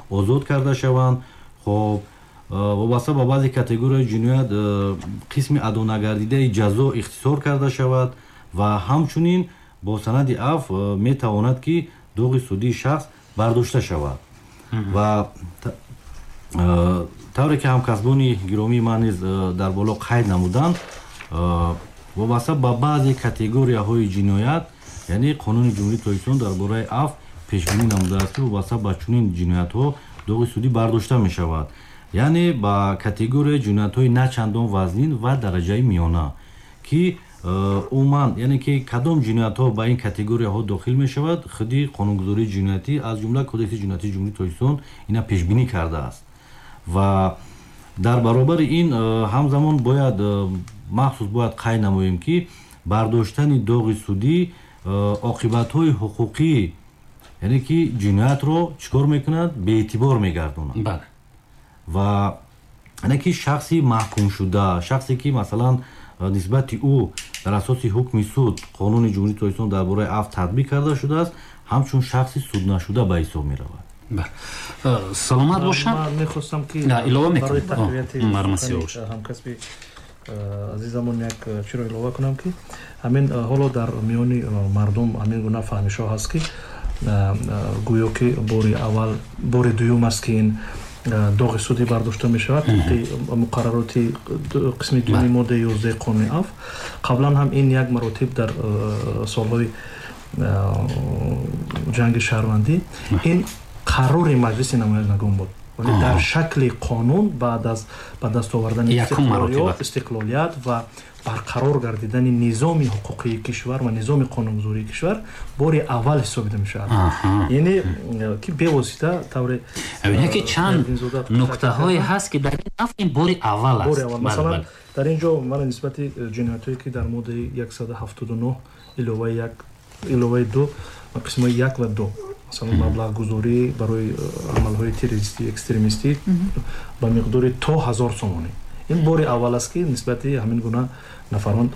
озод карда шаванд. Хоб, вобаста ба баъзе категорияи ҷиноят қисми адонагардидаи ҷазо ихтисор карда шавад, ва ҳамчунин бо санади афв метавонад, ки доғи судии шахс бардошта шавад. Ва тавре ки ҳамкасбони гиромии ман низ дар боло қайд намуданд, вобаста ба баъзе категорияҳои ҷиноят, яъне қонуни Ҷумҳурии Тоҷикистон дар бораи афв пешбинӣ намудааст, ки вобаста ба чунин ҷиноятҳо доғи судӣ бардошта мешавад, яъне ба категорияи ҷиноятҳои на чандон вазнин ва дараҷаи миёна, ки умуман, яъне ки кадом ҷиноятҳо ба ин категорияҳо дохил мешавад, худи қонунгузории ҷиноятӣ, аз ҷумла Кодекси ҷиноятии Ҷумҳурии Тоҷикистон ина пешбинӣ кардааст. Ва дар баробари ин ҳамзамон бояд махсус бояд қайд намоем, ки бардоштани доғи судӣ оқибатҳои ҳуқуқӣ, яъне ки ҷиноятро чӣ кор мекунад? Беэътибор мегардонад. Ва яъне ки шахси маҳкумшуда, шахсе ки масалан нисбати ӯ дар асоси ҳукми суд қонуни Ҷумҳурии Тоҷикистон дар бораи афв татбиқ карда шудааст, ҳамчун шахси суднашуда ба ҳисоб меравад. Саломат бошанд. Ман мехостам, ки илова барои тақвияти ҳамкасби азизамон як чиро илова кунам, ки ҳамин ҳоло дар миёни мардум ҳамин гуна фаҳмишҳо ҳаст, ки гӯё ки бори аввал, бори дуюм аст, ки ин доғи судӣ бардошта мешавад тибқи муқаррароти қисми дуюми моддаи ёздаҳи қонуни афв. Қаблан ҳам ин як маротиб дар солҳои ҷанги шаҳрвандӣ ин қарори Маҷлиси намояндагон буд, вале дар шакли қонун баъд аз ба даст овардани истиқлолият ва барқарор гардидани низоми ҳуқуқии кишвар ва низоми қонунгузории кишвар бори аввал ҳисобида мешавад. Яъне ки бевосита тавре ки чанд нуктаҳое ҳаст, ки дар ин афв ин бори аввал аст. Масалан, дар ин ҷо ман нисбати ҷиноятҳое, ки дар моддаи яксаду ҳафтоду нӯҳ иловаи як, иловаи ду, қисмҳои як ва ду, Масалан, маблағгузорӣ барои амалҳои террористӣ, экстремистӣ ба миқдори то ҳазор сомонӣ. Ин бори аввал аст, ки нисбати ҳамин гуна нафарон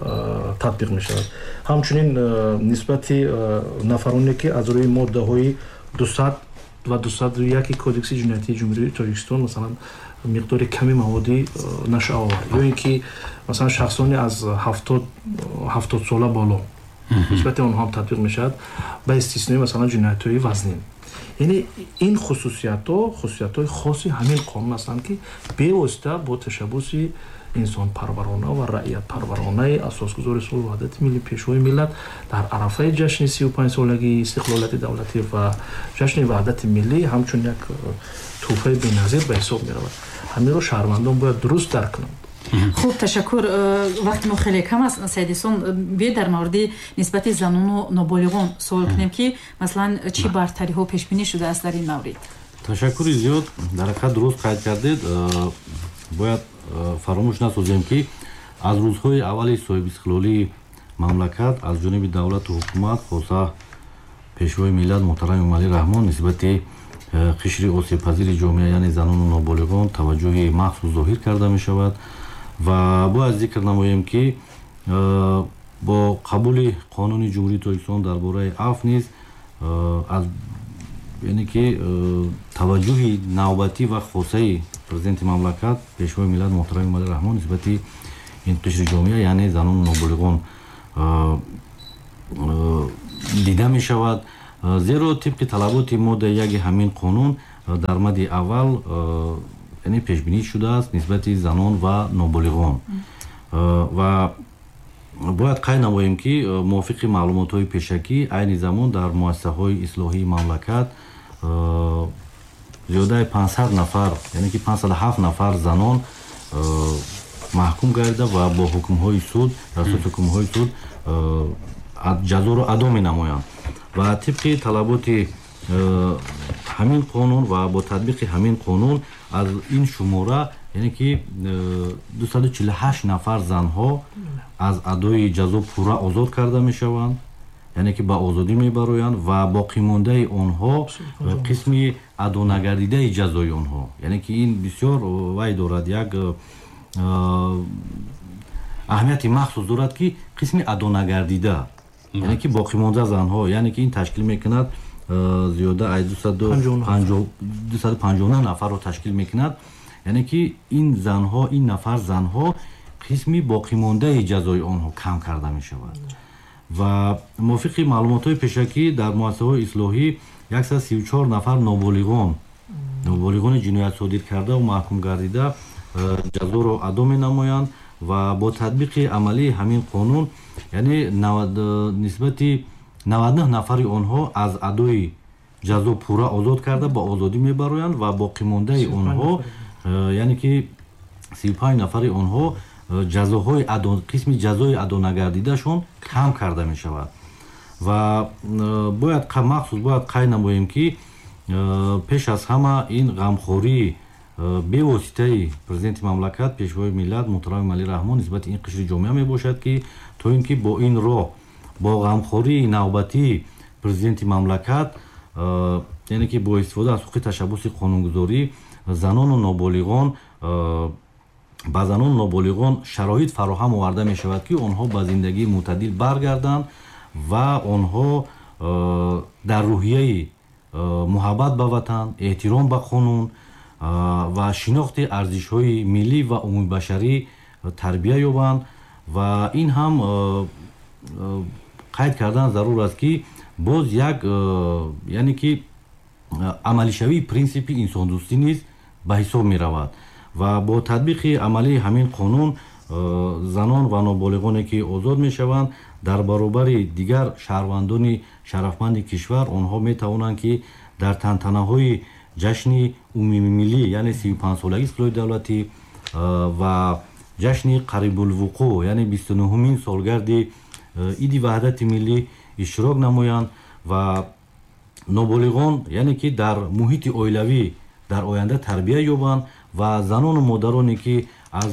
татбиқ мешавад. Ҳамчунин нисбати нафароне, ки аз рӯи моддаҳои дусад ва дусаду яки Кодекси ҷиноятии Ҷумҳурии Тоҷикистон, масалан, миқдори ками маводи нашъаовар ё ин ки, масалан, шахсоне аз ҳафтод сола боло, нисбати онҳо ҳам татбиқ мешавад, ба истиснои, масалан, ҷиноятҳои вазнин. Яъне ин хусусиятҳо хусусиятҳои хоси ҳамин қонун ҳастанд, ки бевосита бо ташаббуси инсонпарварона ва раиятпарваронаи асосгузори сулҳу ваҳдати миллӣ, Пешвои миллат дар арафаи ҷашни сию панҷсолагии истиқлолияти давлатӣ ва ҷашни ваҳдати миллӣ ҳамчун як тӯҳфаи беназир ба ҳисоб меравад. Ҳаминро шаҳрвандон бояд дуруст дарк кунанд. Хуб, ташаккур. Вақти мо хеле кам аст. Саидесон, биёед дар мавриди нисбати занону ноболиғон суол кунем, ки масалан чӣ бартариҳо пешбинӣ шудааст дар ин маврид? Ташаккури зиёд. Дар ҳақиқат, дуруст қайд кардед. Бояд фаромӯш насозем, ки аз рӯзҳои аввали соҳибистиқлолии мамлакат аз ҷониби давлату ҳукумат, хоса Пешвои миллат муҳтарам Эмомалӣ Раҳмон, нисбати қишри осебпазири ҷомеа, яъне занону ноболиғон, таваҷҷӯҳи махсус зоҳир карда мешавад. Ва бояд зикр намоем, ки бо қабули Қонуни Ҷумҳурии Тоҷикистон дар бораи афв низ аз яъне ки таваҷҷӯҳи навбатӣ ва хосаи президенти мамлакат, Пешвои миллат муҳтарам Эмомалӣ Раҳмон нисбати ин қишри ҷомеа, яъне занону ноболиғон, дида мешавад, зеро тибқи талаботи моддаи яки ҳамин қонун дар мадди аввал, яъне пешбинӣ шудааст нисбати занон ва ноболиғон. Ва бояд қайд намоем, ки мувофиқи маълумотҳои пешакӣ айни замон дар муассисаҳои ислоҳии мамлакат зиёдаи панҷсад нафар, яъне ки панҷсаду ҳафт нафар занон маҳкум гардида ва бо ҳукмҳои суд, дар асоси ҳукмҳои суд ҷазоро адо менамоянд. Ва тибқи талаботи ҳамин қонун ва бо татбиқи ҳамин қонун аз ин шумора, яъне ки дусаду чилу ҳашт нафар занҳо аз адои ҷазо пурра озод карда мешаванд, яъне ки ба озодӣ мебароянд, ва боқимондаи онҳо қисми адонагардидаи ҷазои онҳо, яъне ки ин бисёр вай дорад, як аҳамияти махсус дорад, ки қисми адонагардида, яъне ки боқимонда занҳо, яъне ки ин ташкил мекунад зиёда аз дусаду панҷоҳу нӯҳ нафарро ташкил мекунад. Яъне ки ин занҳо, ин нафар занҳо қисми боқимондаи ҷазои онҳо кам карда мешавад. Ва мувофиқи маълумотҳои пешакӣ дар муассисаҳои ислоҳӣ яксаду сию чор нафар ноболиғон ноболиғони ҷиноят содир карда ва маҳкум гардида ҷазоро адо менамоянд. Ва бо татбиқи амалии ҳамин қонун, яъне нисбати наваду нӯҳ нафари онҳо аз адои ҷазо пурра озод карда ба озодӣ мебароянд ва боқимондаи онҳо, яъне ки сию панҷ нафари онҳо ҷазоҳои қисми ҷазои адонагардидашон кам карда мешавад. Ва бояд махсус бояд қайд намоем, ки пеш аз ҳама ин ғамхории бевоситаи президенти мамлакат, Пешвои миллат муҳтарам Эмомалӣ Раҳмон нисбати ин қишри ҷомеа мебошад, ки то ин ки бо ин роҳ, бо ғамхории навбатии президенти мамлакат, яъне ки бо истифода аз ҳуқуқи ташаббуси қонунгузорӣ, занону ноболиғон ба занону ноболиғон шароит фароҳам оварда мешавад, ки онҳо ба зиндагии мӯътадил баргарданд ва онҳо дар рӯҳияи муҳаббат ба ватан, эҳтиром ба қонун ва шинохти арзишҳои миллӣ ва умумибашарӣ тарбия ёбанд. Ва ин ҳам қайд кардан зарур аст, ки боз як, яъне ки амалишавии принсипи инсондӯстӣ низ ба ҳисоб меравад. Ва бо татбиқи амалии ҳамин қонун занон ва ноболиғоне, ки озод мешаванд, дар баробари дигар шаҳрвандони шарафманди кишвар онҳо метавонанд, ки дар тантанаҳои ҷашни умумимиллӣ, яъне сию панҷсолагии истиқлоли давлатӣ, ва ҷашни қарибулвуқӯъ, яъне бисту нуҳумин солгарди Иди ваҳдати миллӣ иштирок намоянд. Ва ноболиғон, яъне ки дар муҳити оилавӣ дар оянда тарбия ёбанд ва занону модароне, ки аз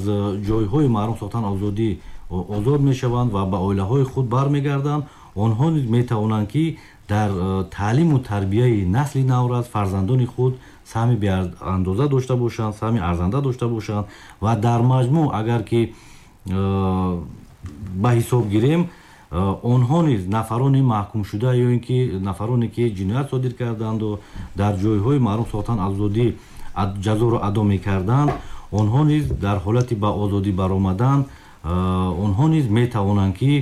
ҷойҳои маҳрум сохтан озодӣ озод мешаванд ва ба оилаҳои худ бармегарданд, онҳо низ метавонанд, ки дар таълиму тарбияи насли наврас, фарзандони худ саҳми беандоза дошта бошанд, саҳми арзанда дошта бошанд ва дар маҷмӯъ агар ки ба ҳисоб гирем, онҳо низ нафарони маҳкумшуда ё ин ки нафароне ки ҷиноят содир карданду дар ҷойҳои маҳрум сохтан аз озодӣ ҷазоро адо мекарданд, онҳо низ дар ҳолати ба озодӣ баромадан онҳо низ метавонанд ки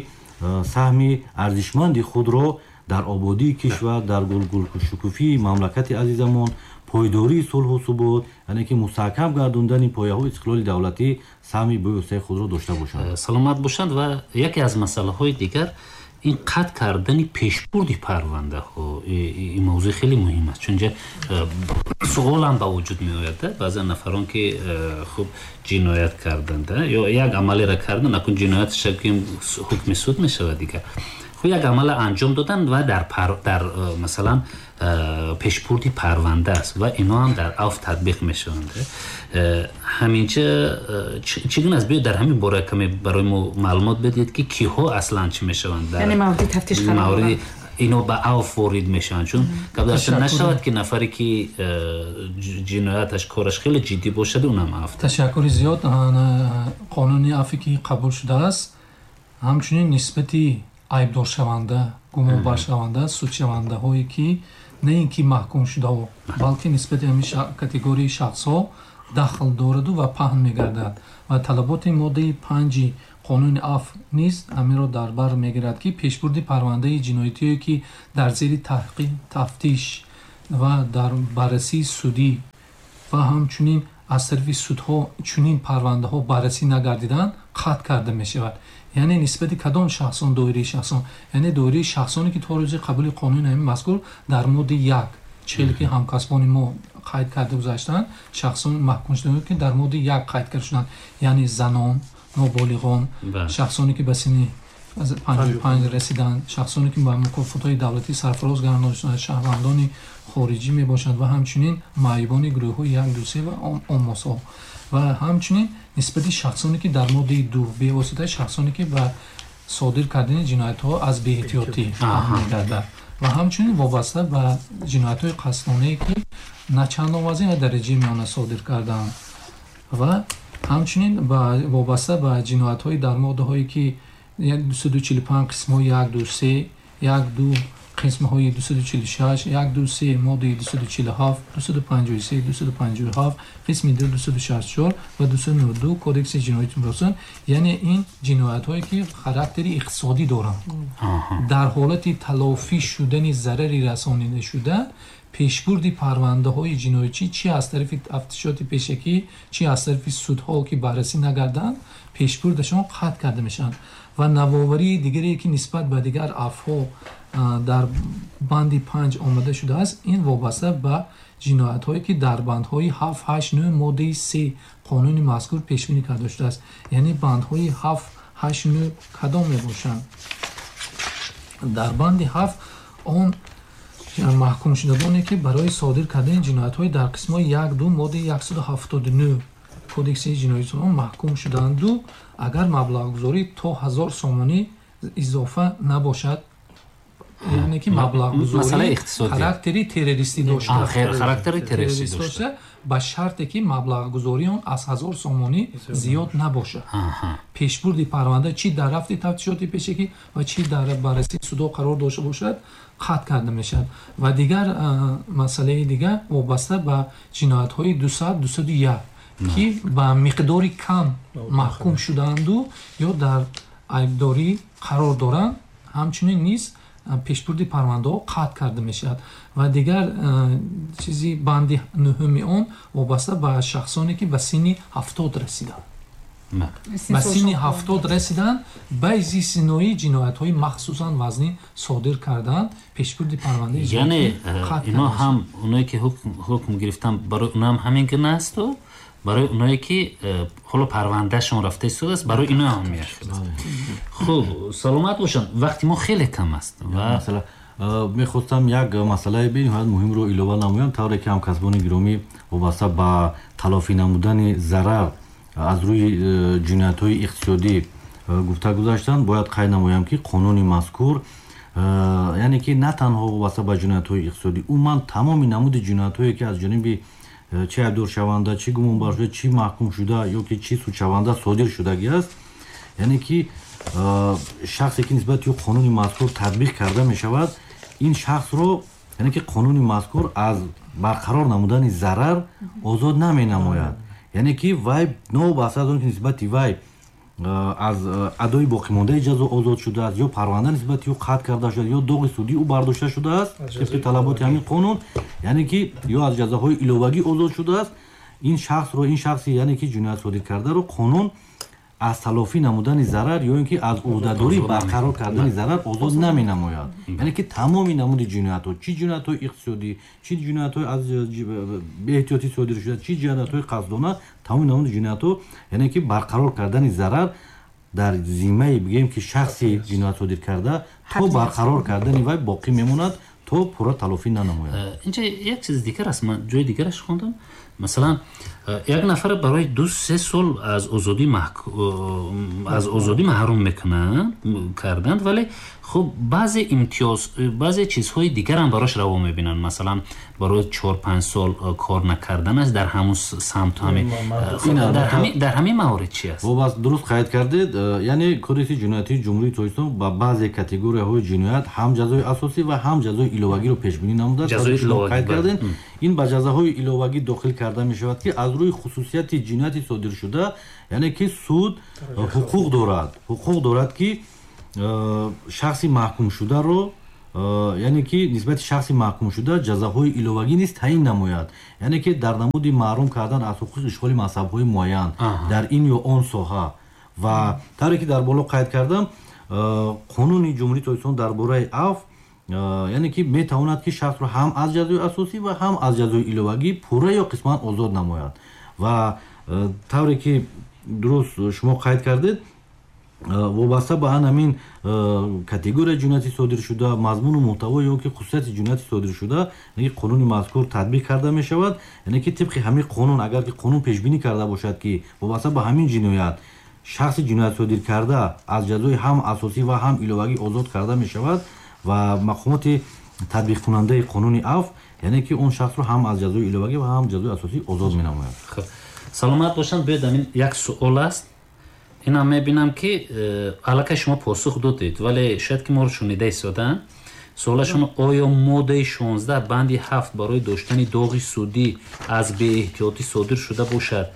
саҳми арзишманди худро дар ободии кишвар, дар гулгулшукуфии мамлакати азизамон, пойдории сулҳу субот, яъне ки мустаҳкам гардондани пояҳои истиқлоли давлатӣ саҳми бевоситаи худро дошта бошанд. Саломат бошанд. Ва яке аз масъалаҳои дигар ин қатъ кардани пешбурди парвандаҳо, ин мавзӯи хеле муҳим аст, чунки суолам ба вуҷуд меояд. Баъзе нафарон ки хуб ҷиноят карданд ё як амалеро карданд, акун ҷинояташ ҳукми суд мешавад дигар. Хуб, як амалро анҷом доданд ва дар дар масалан пешбурди парванда аст ва ино ҳам дар афв татбиқ мешаванд. Ҳаминча чӣ гуна аст? Биёед дар ҳамин бора каме барои мо маълумот бидиҳед ки киҳо аслан чӣ мешаванд, яъне мавриди тафтиш қарор мавриди ино ба афв ворид мешаванд, чун гап нашавад ки нафаре ки ҷинояташ кораш хеле ҷиддӣ бошад, унам афв. Ташаккури зиёд. Қонуни афве ки қабул шудааст, ҳамчунин нисбати айбдоршаванда, гумонбаршаванда, судшавандаҳое ки на ин ки маҳкум шудао, балки нисбати ҳамин категорияи шахсҳо дахл дораду ва паҳн мегардад. Ва талаботи моддаи панҷи қонуни афв низ ҳаминро дар бар мегирад, ки пешбурди парвандаи ҷиноятие ки дар зери таҳқиқ, тафтиш ва дар баррасии судӣ ва ҳамчунин аз тарафи судҳо чунин парвандаҳо баррасӣ нагардиданд, қатъ карда мешавад. Яъне нисбати кадом шахсон? Доираи шахсон, яъне доираи шахсоне ки то рӯзи қабули қонуни ҳамин мазкур дар моддаи як, челе ки ҳамкасбони мо қайд карда гузаштанд, шахсон маҳкум шуданд ки дар моддаи як қайд карда шуданд, яъне занон, ноболиғон, шахсоне ки ба синни панҷоҳу панҷ расиданд, шахсоне ки ба мукофотҳои давлатӣ сарфароз гардонда шуданд, шаҳрвандони хориҷӣ мебошанд ва ҳамчунин маъюбони гурӯҳҳои як, ду, се ва оммосҳо. Ва ҳамчунин нисбати шахсоне ки дар моддаи ду бевоситаи шахсоне ки ба содир кардани ҷиноятҳо аз беэҳтиётӣ мегардад ва ҳамчунин вобаста ба ҷиноятҳои қасдонае ки на чандон вазин ва дараҷаи миёна содир карданд ва ҳамчунин вобаста ба ҷиноятҳои дар моддаҳое ки дусаду чилу панҷ қисмҳои як, ду, се, як, ду қисмҳои дусаду чилу шаш, як, ду, се, моддаи дусаду чилу ҳафт, дусаду панҷоҳу се, дусаду панҷоҳу ҳафт, қисми ду, дусаду шасту чор ва дусаду наваду ду Кодекси ҷиноятии Ҷумҳурият, яъне ин ҷиноятҳое ки характери иқтисодӣ доранд. Дар ҳолати талофӣ шудани зарари расонидашуда, пешбурди парвандаҳои ҷиноятӣ чи аз тарафи тафтишоти пешакӣ, чи аз тарафи судҳо ки баррасӣ нагарданд, пешбурдашон қатъ карда мешаванд. Ва навоварии дигаре ки нисбат ба дигар афвҳо дар банди панҷ омада шудааст, ин вобаста ба ҷиноятҳое ки дар бандҳои ҳафт, ҳашт, нӯҳ моддаи се қонуни мазкур пешбинӣ карда шудааст. Яъне бандҳои ҳафт, ҳашт, нӯҳ кадом мебошанд? Дар банди ҳафт он маҳкумшудагоне ки барои содир кардани ҷиноятҳои дар қисмҳои як, ду моддаи яксаду ҳафтоду нӯҳ Кодекси ҷиноятии маҳкум шуданду, агар маблағгузорӣ то ҳазор сомонӣ изофа набошад, яъне ки маблағгузорӣ характери террористӣ дошта, характери террористӣ дошта, ба шарте ки маблағгузории он аз ҳазор сомонӣ зиёд набошад. Пешбурди парванда чи дар рафти тафтишоти пешакӣ ва чи дар баррасии судҳо қарор дошта бошад, қатъ карда мешавад. Ва дигар масъалаи дигар вобаста ба ҷиноятҳои дусад, дусаду як ки ба миқдори кам маҳкум шудаанду ё дар айбдорӣ қарор доранд, ҳамчунин низ пешбурди парвандаҳо қатъ карда мешавад. Ва дигар чизи банди нӯҳуми он вобаста ба шахсоне ки ба синни ҳафтод расиданд. Ба синни ҳафтод расиданд, ба истиснои ҷиноятҳои махсусан вазнин содир карданд, пешбурди парвандаи яъне ино ҳам оное ки ҳукм гирифтанд, барои оно ҳам ҳамин гуна асту барои оное ки ҳоло парвандаашон рафта истодааст, барои ино ҳам мешавад. Хуб, саломат бошанд. Вақти мо хеле кам аст ва мехостам як масъалаи бениҳоят муҳимро илова намоям. Тавре ки ҳамкасбони гиромӣ вобаста ба талофӣ намудани зарар аз рӯи ҷиноятҳои иқтисодӣ гуфта гузаштанд, бояд қайд намоям ки қонуни мазкур Яъне ки на танҳо вобаста ба ҷиноятҳои иқтисодӣ, умуман тамоми намуди ҷиноятҳое ки аз ҷониби чи айбдоршаванда, чи гумонбаршуда, чи маҳкумшуда ё ки чи судшаванда содир шудагӣ аст, яъне ки шахсе ки нисбати ӯ қонуни мазкур татбиқ карда мешавад, ин шахсро, яъне ки қонуни мазкур аз барқарор намудани зарар озод наменамояд. Яъне ки вай новобаста аз он ки нисбати вай аз адои боқимондаи ҷазо озод шудааст ё парванда нисбати ӯ қатъ карда шудааст ё доғи судии ӯ бардошта шудааст тибқи талаботи ҳамин қонун, яъне ки ё аз ҷазоҳои иловагӣ озод шудааст, ин шахсро, ин шахси яъне ки ҷиноят содир кардаро қонун аз талофӣ намудани зарар ё ин ки аз ӯҳдадорӣ барқарор кардани зарар озод наменамояд. Яъне ки тамоми намуди ҷиноятҳо, чӣ ҷиноятҳои иқтисодӣ, чӣ ҷиноятҳои аз беэҳтиётӣ содир шуда, чӣ ҷиноятҳои қасдона, тамоми намуди ҷиноятҳо, яъне ки барқарор кардани зарар дар зиммаи бигӯем ки шахси ҷиноят содир карда то барқарор кардани вай боқӣ мемонад то пурра талофӣ нанамояд. Инҷа як чиз дигар аст, ман ҷои дигараш хондам. Масалан, як нафар барои ду се сол аз озодӣ аз озодӣ маҳрум мекунанд карданд, вале хуб баъзе имтиёз, баъзе чизҳои дигарам барош раво мебинанд. Масалан, барои чор панҷ сол кор накарданаш дар ҳамун самт, ҳамин дар ҳамин маворид чи аст? Вобаст дуруст қайд кардед, яъне Кодекси ҷиноятии Ҷумҳурии Тоҷикистон ба баъзе категорияҳои ҷиноят ҳам ҷазои асосӣ ва ҳам ҷазои иловагиро пешбинӣ намудааст. Қайд кардед, ин ба ҷазоҳои иловагӣ дохил карда мешавад ки аз рӯи хусусияти ҷинояти содиршуда, яъне ки суд ҳуқуқ дорад, ҳуқуқ дорад ки шахси маҳкумшударо, яъне ки нисбати шахси маҳкумшуда ҷазоҳои иловагӣ низ таъин намояд. Яъне ки дар намуди маҳрум кардан аз ҳуқуқи ишғоли мансабҳои муайян дар ин ё он соҳа. Ва тавре ки дар боло қайд кардам, қонуни Ҷумҳурии Тоҷикистон дар бораи афв, яъне ки метавонад ки шахсро ҳам аз ҷазои асосӣ ва ҳам аз ҷазои иловагӣ пурра ё қисман озод намояд. Ва тавре ки дуруст шумо қайд кардед, вобаста ба ҳамин категорияи ҷинояти содиршуда, мазмуну муҳтаво ё ки хусусияти ҷинояти содиршуда, яъне ки қонуни мазкур татбиқ карда мешавад. Яъне ки тибқи ҳамин қонун, агар ки қонун пешбинӣ карда бошад ки вобаста ба ҳамин ҷиноят шахси ҷиноят содир карда аз ҷазои ҳам асосӣ ва ҳам иловагӣ озод карда мешавад ва мақомоти татбиқкунандаи қонуни афв, яъне ки он шахсро ҳам аз ҷазои иловагӣ ва ҳам ҷазои асосӣ озод менамояд. Саломат бошанд. Биёед, ҳамин як суол аст, инам мебинам ки аллакай шумо посух додед, вале шояд ки моро шунида истодаанд. Суолашон: оё моддаи шонздаҳ банди ҳафт барои доштани доғи судӣ аз беэҳтиётӣ содир шуда бошад,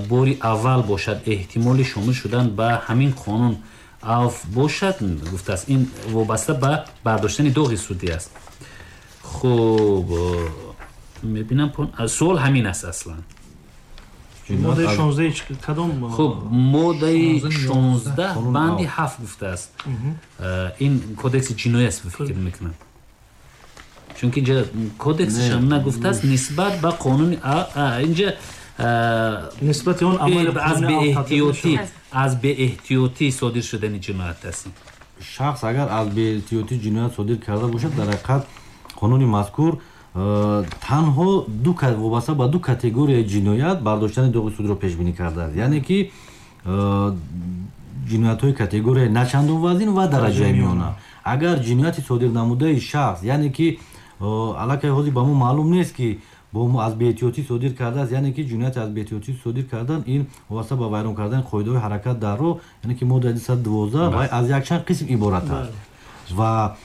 бори аввал бошад, эҳтимоли шомил шудан ба ҳамин қонун афв бошад? Гуфтааст, ин вобаста ба бардоштани доғи судӣ аст. Хуб, мебинам суол ҳамин аст аслан. Моддаи шонздаҳ кадом? Хуб, моддаи шонздаҳ банди ҳафт гуфтааст. Ин кодекси ҷиноӣ аст, фикр мекунам, чунки инҷа кодексашам нагуфтааст нисбат ба қонуни инҷа нисбати он амали аз беэҳтиётӣ, аз беэҳтиётӣ содир шудани ҷиноят аст. Шахс агар аз беэҳтиётӣ ҷиноят содир карда бошад, дар ҳақиқат қонуни мазкур танҳо ду вобаста ба ду категорияи ҷиноят бардоштани доғи судро пешбинӣ кардааст. Яъне ки ҷиноятҳои категорияи начандон вазин ва дараҷаи миёна. Агар ҷинояти содир намудаи шахс, яъне ки аллакай ҳозир ба мо маълум нест ки бо аз беэҳтиётӣ содир кардааст, яъне ки ҷинояти аз беэҳтиётӣ содир кардан ин вобаста ба вайрон кардани қоидаҳои ҳаракат дар роҳ, яъне ки моддаи дусаду дувоздаҳ вай аз якчанд қисм иборат аст ва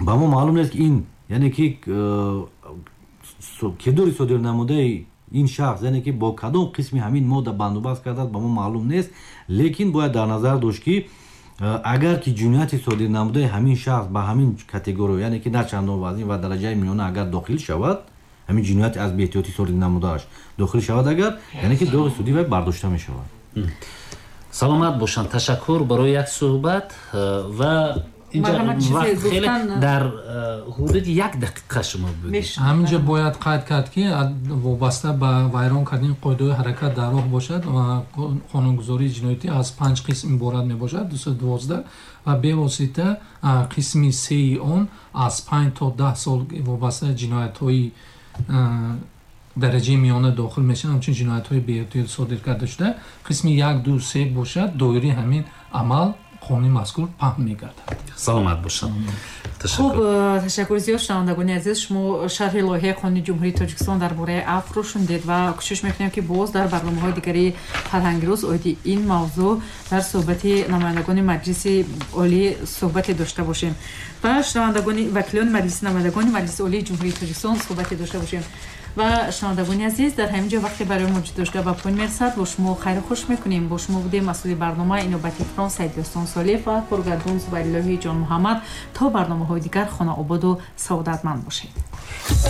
ба мо маълум нест ки ин, яъне ки кирдори содир намудаи ин шахс, яъне ки бо кадом қисми ҳамин модда бандубаст кардааст, ба мо маълум нест. Лекин бояд дар назар дошт ки агар ки ҷинояти содир намудаи ҳамин шахс ба ҳамин категория, яъне ки на чандон вазин ва дараҷаи миёна агар дохил шавад, ҳамин ҷинояти аз беэҳтиётӣ содир намудааш дохил шавад, агар яъне ки доғи судӣ вай бардошта мешавад. Саломат бошанд. Ташаккур барои як суҳбат ва инҷа вақт хеле дар ҳудуди як дақиқа шумо будед. Ҳаминҷа бояд қайд кард ки вобаста ба вайрон кардани қоидаҳои ҳаракат дар роҳ бошад ва қонунгузории ҷиноятӣ аз панҷ қисм иборат мебошад, дусаду дувоздаҳ, ва бевосита қисми сеи он аз панҷ то даҳ сол вобаста ҷиноятҳои дараҷаи миёна дохил мешаванд, ҳамчун ҷиноятҳои беэҳтиёт содир карда шуда. Қисми як, ду, се бошад, доираи ҳамин амал Қонуни мазкур паҳн мегардад. Саломат бошад. Хуб, ташаккури зиёд. Шунавандагони азиз, шумо шарҳи лоиҳаи қонуни Ҷумҳурии Тоҷикистон дар бораи афвро шунидед ва кӯшиш мекунем, ки боз дар барномаҳои дигари Фарҳанги рӯз оиди ин мавзӯъ дар суҳбати намояндагони Маҷлиси Олӣ суҳбате дошта бошем ва шунавандагони, вакилони Маҷлиси намояндагони Маҷлиси Олии Ҷумҳурии Тоҷикистон суҳбате дошта бошем. Ва шунавандагони азиз, дар ҳамин ҷо вақте барои мо ҷудо ба поён мерасад. Бо шумо хайру хуш мекунем. Бо шумо будем масъули барнома иноБати Фрон Саидёстон Солиев ва коргардон Зубайдуллоҳи Ҷонмуҳаммад. То барномаҳои дигар хонаободу саодатманд бошед.